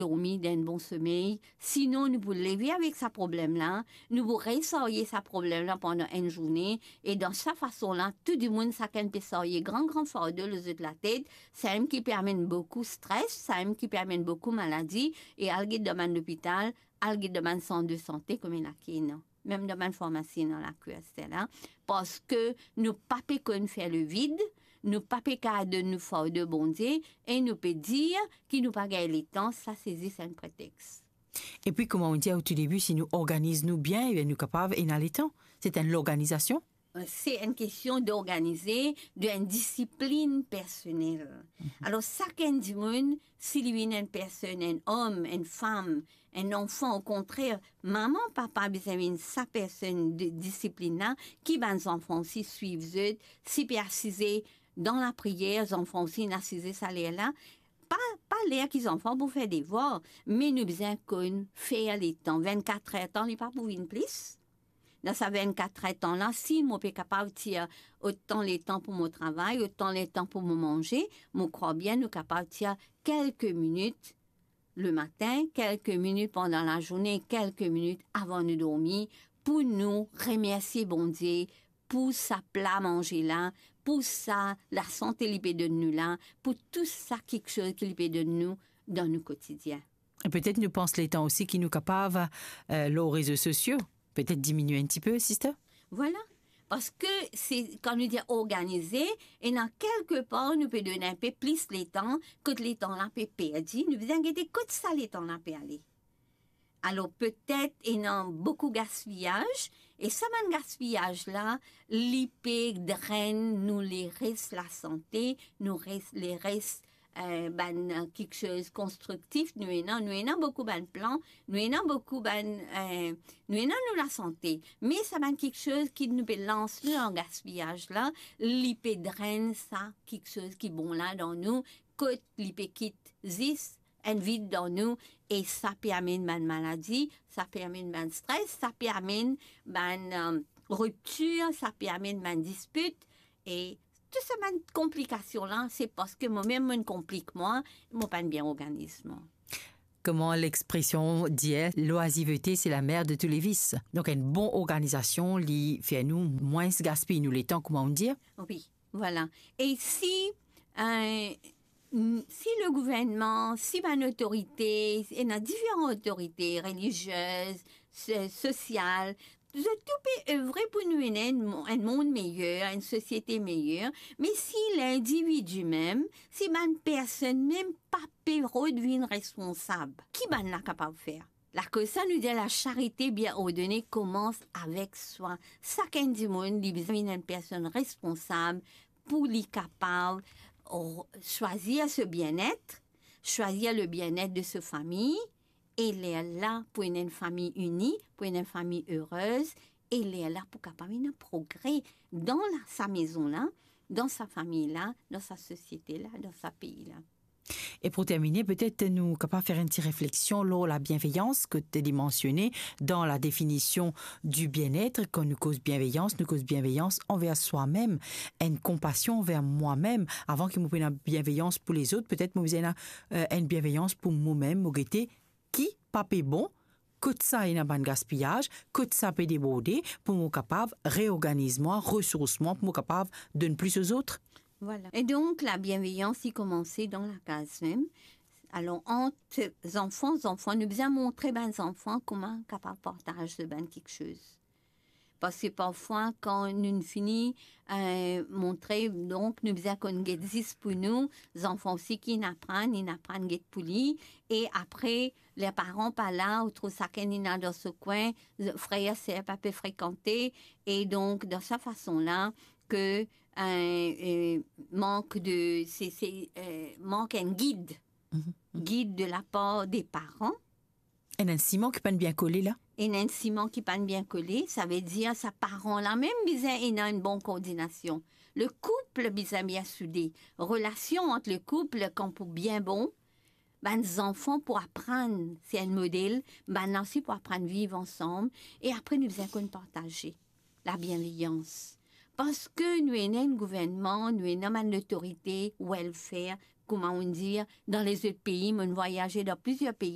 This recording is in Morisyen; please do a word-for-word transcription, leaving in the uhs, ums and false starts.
dormi, dan enn bon somey. Sinon, nou pou leve avek sa problem la, nou pou resarye sa problem la pandan enn zourne, e dan sa fason la, tou dimoun, sakenn pe sarye gran, gran fardo lor zot latet, samem ki pe amenn boukou stres, samem ki pe amenn boukou maladi, e al get dan bann lopital, al get dan bann sant de sante, kouma ena ki ena. Mem dan bann farmasi ena lakour aster la, parski nou pa pe konn fer levid, nou pa pe kapav donn nou fardo Bondie, e nou pe dir ki nou pa gagn letan, sa se zis enn pretex. Epi, kouma ou dir o tou debi, si nou organiz nou bien, ebien, nou kapav ena letan. Se enn lorganizasion. Se enn kestion d'organize, de enn disiplin personel. Mhm. Alor, sakenn dimoun, si li vinn enn personn, enn om, enn fam, enn anfan, okontrer, mama, papa bizin vinn sa personn de disiplin la, ki bann zanfan osi swiv zot, si pe asize dan lapriyer, zanfan osi inn asize sa ler la, pa, pa ler ki zanfan pou fer devwar, me nou bizin konn fer letan, vennkat er tan, li pa pou vinn plis. Dan sa vennkat er tan la, si mo pe kapav tir otan letan pou mo travay, otan letan pou mo manze, mo krwar bien nou kapav tir kelke minit lematin, kelke minit pandan lazourne, kelke minit avan nou dormi, pou nou remersie Bondie pou sa pla manze la, pou sa lasante li pe donn nou la, pou tou sa kiksoz ki li pe donn nou dan nou kotidien. E petet nou pans letan osi ki nou kapav, eh, lor rezo sosio, petet diminie enn tipe, sister? Vwala. Parski se, kan nou dir organize, ena kelke par nou pe donn enpe plis letan, kot letan la pe perdi, nou bizin gete kot sa letan la pe ale. Alor, petet ena boukou gaspiyaz, e sa bann gaspiyaz la, li pe drenn nou leres lasante, nou res, leres, eh, bann, eh, kiksoz konstriktif nou ena, nou ena boukou bann plan, nou ena boukou bann, eh, nou ena nou lasante. Me sa bann kiksoz ki nou pe lans nou an gaspiyaz la, li pe drenn sa kiksoz ki bon la dan nou, kot li pe kit zis enn vid dan nou, e sa pe amenn bann maladi, sa pe amenn bann stres, sa pe amenn bann, eh, riptir, sa pe amenn bann dispit, e tou sa bann konplikasion la, se parski momem mo'nn konplik mwa, mo pa'nn bien organiz mwa. Kouma lexpresion dir, l'oisiveté, c'est la mère de tous les vices. Donk, enn bon organizasion, li fer nou mwins gaspiy nou letan, kouma ou dir. Wi, vwala. E si, eh, n-, si le gouvernman, si bann otorite, ena diferan otorite, reliziez, so-, sosial, zot tou pe evre pou nou ena enn mo-, enn mond meyer, enn sosiete meyer, me si lindividi mem, si bann personn mem pa pe rod vinn responsab, ki bann la kapav fer? Lakoz sa nou dir lasarite bien ordone koumans avek swa. Sakenn dimoun, li bizin vinn enn personn responsab pou li kapav r-, swazir so bienet, swazir le bienet de so fami, e lerla pou ena enn fami ini, pou ena enn fami erez, e lerla pou kapav ena progre dan la, sa mezon la, dan sa fami la, dan sa sosiete la, dan sa pei la. E pou termine, petet nou kapav fer enn ti refleksion lor labienveyans ki to mansione dan la definision di bienet. Kan nou koz bienveyans, nou koz bienveyans anver swa mem, enn konpasion anver mwa mem. Avan ki mo pou ena bienveyans pou lezot, petet mo bizin ena, eh, enn bienveyans pou momem, mo gete ki pa pe bon, kot sa ena bann gaspiyaz, kot sa pe deborde, pou mo kapav reorganiz mwa, resours mwa, pou mo kapav donn plis lezot. Vwala. E donk, labienveyans, li koumanse dan lakaz mem. Alor, ant zanfan, zanfan, nou bizin montre bann zanfan kouma kapav partaz bann kiksoz. Parski parfwa, kan nou fini, eh, montre, donk, nou bizin konn get zis pou nou, zanfan osi ki inn aprann, inn aprann get pou li, e apre, ler paran pa la, ou trouv sakenn inn al dan so kwin, frer, ser pa pe frekante, e donk, dan sa fason la, ke, eh, eh, mank de, se, se, eh, mank enn gid, Mhm. gid de lapar de paran, Ena enn siman ki pa'nn bien kole la? Ena enn siman ki pa'nn bien kole, savedir sa paran la mem bizin ena enn bon koordinasion. Le koup bizin bien soude. Relasion ant le koup, kan pou bien bon, bann zanfan pou aprann, se enn model, bann la osi pou aprann viv ansam, e apre nou bizin konn partaze. Labienveyans. Parski nou ena enn gouvernman, nou ena bann lotorite, welfare, kouma ou'nn dir, dan lezot pei, mo'nn vwayaze dan plizier pei